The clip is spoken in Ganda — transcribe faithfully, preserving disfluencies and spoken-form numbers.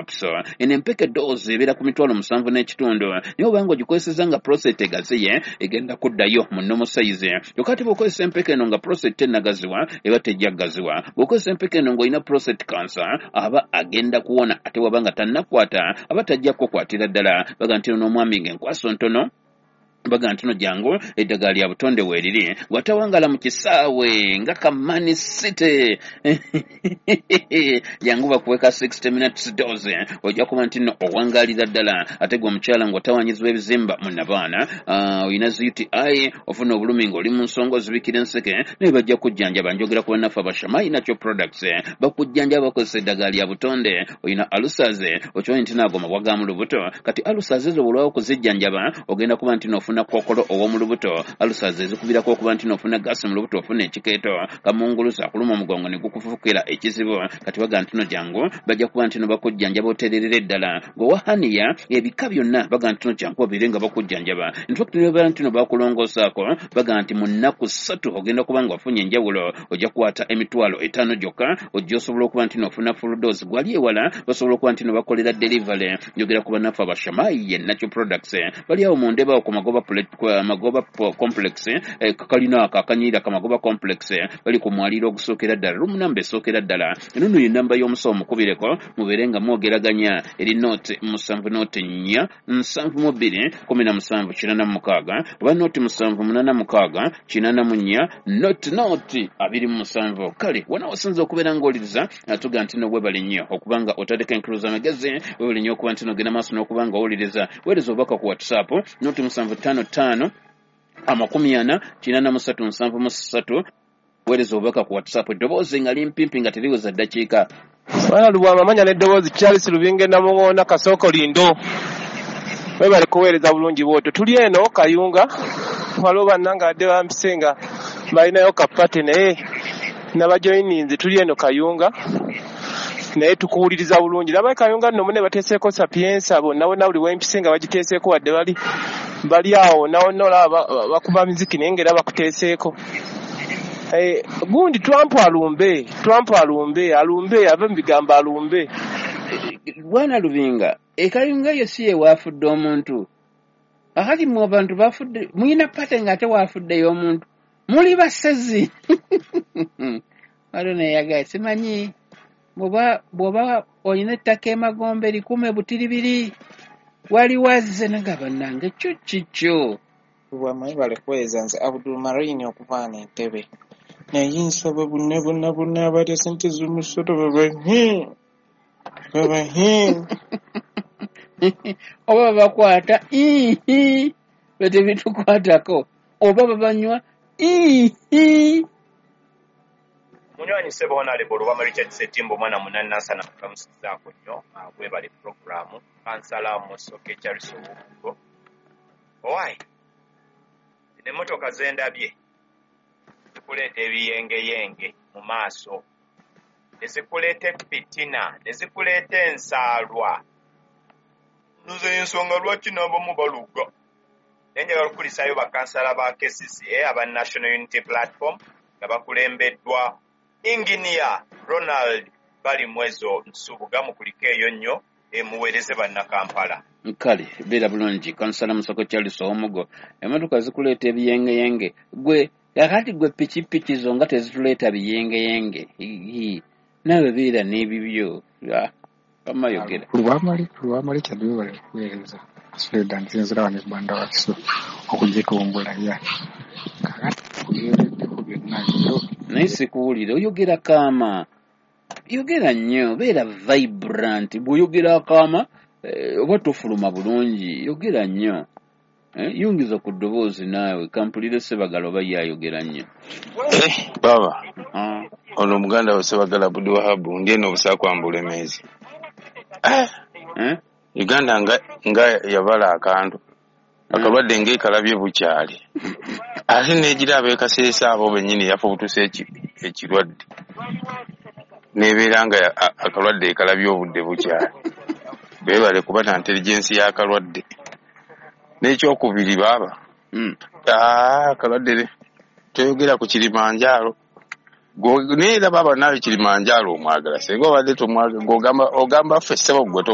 Wapiso. Eno empeke dose ebeera ku mitwalo musanvu n'ekitundu, naye obanga ogikozesezza nga prostate egaziye, egenda kuddayo mu normal size. Kyokka ate bw'okozesa empeke eno nga prostate tennagaziwa, eba tejja kugaziwa. Bw'okozesa empeke eno ng'olina prostate cancer, aba agenda kuwona, ate waba nga tannakwata aba tajja kukukwatira ddala. Baga nti n'omwami ng'enkwaso ntono, baga nti no jangu, eddagala lya butonde weeriri, watawangala mu kisaawe nga Kamani City, jangu bakuweka sixty minutes dose, ojja kuba nti no owangalira ddala. Ate gwe omukyala ng'otawanyizibwa ebizimba mu nabaana, olina U T I, ofuna obulumi ng'oli mu nsonga, ozibikira enseke, naye bajja kujjanjaba. Njogera ku bannaffe abashamayi Natural Products, bakujjanjaba bakozesa eddagala lya butonde. Olina ulcers, okimanyi nti naago mabwa ga mu lubuto, kati ulcers ezo bw'olwawo okuzijjanjaba ogenda kuba nti n'ofuna kokolo ow'omu lubuto. Ulcers ezikubirako okuba nti n'ofuna gasi mu lubuto, ofuna ekikeeto, kamungulusa, akuluma omugongo ne gukufukira ekizibu. Kati baga nti no jangu, bajja kuba nti no bakujjanjaba otererere ddala. Ng'owa haniya ebika byonna, baga nti no jangu obeere nga bakujjanjaba. In fact ne babeera nti no bakulongoosaako, baga nti mu nnaku ssatu ogenda kuba nga ofunye enjawulo. Ojja kukwata emitwalo etaano gyokka, ojja osobola okuba nti n'ofuna full dose. Gwali ewala basobola okuba nti no bakolera delivery. Njogera ku bannaffe abashamayi Natural Products, bali awo mu Ndeeba ku Magoba Magoba Complex, kalina ako akanyirira Kamagoba Complex, bali ku mwaliro ogusookera ddala, room number esookera ddala. Eno nno ye namba y'omusawo, mukubireko mubeere nga mwogeraganya. Eri nooti musanvu nooti nnya nsanvu mu bbiri kumi na musanvu kinaana mu mukaaga, oba nooti musanvu munaana mukaaga kinaana mu nnya nooti nooti abiri mu musanvu. Kale wona wasinze okubeera ng'owuliriza, tuga nti no webale nnyo okuba nga otandika enkulu z'amagezi, webale nnyo okuba nti n'ogenda maaso n'okuba nga owuliriza. Weereza obubaka ku WhatsApp nooti musanvu ttaano ttaano amakumi ana kinaana mu ssatu nsanvu mu ssatu. Weereza obubaka ku WhatsApp, eddoboozi nga limpimpi nga teriweza ddakiika. Bwana Lubwama, amanya n'eddoboozi Charles Lubinge Namuŋoona Kasooko Lindo, webale kuweereza bulungi bwotyo. Tuli eno Kayunga, waliwo bannange abadde bampise nga balinayo kapate, naye nabajoyininze. Tuli eno Kayunga naye tukuwuliriza bulungi. Laba Kayunga nno munne bateeseeko Sapienza, bonna bonna buli wempise nga bagiteeseeko, wadde bali bali awo nawonna olaba bakuba miziki naye ng'era bakuteeseeko. Gundi Trump alumbe, Trump alumbe, alumbe, ave mu bigambo alumbe. Bwana Lubinga, e Kayunga yo si ye waafudde omuntu. Akati mmwe abantu bafudde, muyina pate ng'ate waafuddeyo omuntu. Muli basezi. Waliwo neeyagala, simanyi bw'oba bw'oba olina ettaka emagombe likume butiribiri, wali wazze naga bannange kyo kikyo. Lubwama webale kuweereza. Nze Abdul Marine okuva wano Entebbe. Naye nsaba bonna bonna bonna abalya ssente z'omusolo babahe, babahe. Oba babakwata ihi, bwe tebitukwatako, oba babanywa ihi. Munywanyi ssebo Honorable Lubwama Richard Ssettimba, omwana munanni Nansana kulamusizaako nnyo, webale pulogulaamu. Kansala Musoke Charles Owugo. Owaaye, zino emmotoka ze ndabye zikuleeta ebiyengeyenge mu maaso, ne zikuleeta effitina, ne zikuleeta ensaalwa. Nze ensonga lwaki n'abamu baluga. Naye njagala okukulisaayo bakansala ba K C C A aba National Unity Platform nga bakulembeddwa Engineer Ronald Balimwezo Nsubuga, mukulike eyo nnyo, emuweereze bannakampala. Kale beera bulungi kansala Musoko Charles Omugo. Emmotoka zikuleeta ebiyengeyenge, gwe kakati gwe pikipiki zo nga tezituleeta biyengeyenge, naawe beera n'ebibyo. Amayogera. Lubwama Lubwama Richard webale kuweereza. Sweden nsinziira wano e Bbanda Wakiso okugitumbula ya. Kakati kubyogeddeko byonna leero. Naye sikuwulira oyogera kaama. Yogera nnyo, beera vibrant. Bw'oyogera akaama oba tofuluma bulungi, yogera nnyo. Yungiza ku ddoboozi naawe, kampulire Ssebagala oba ye ayogera nnyo. Eh, baba. Ono muganda wa Ssebagala Abdu Wahabu, ndi eno obusaako Bulemeezi. Eh? Uganda nga, nga yabala akantu. Akalwadde ng'ekalabye bukyali. Ate n'egira abeekaseesa abo bennyini yafubutuse ekirwadde. N'ebeera nga akalwadde ekalabye obudde bukyali. Beebale kuba na intelligence y'akalwadde. N'ekyokubiri baaba. Ah, akalwadde toyogera ku Kilimanjaro. Naye era baaba naawe Kilimanjaro omwagala. Singa obadde tomwagala, ogamba ogamba ffe ssebo ggwe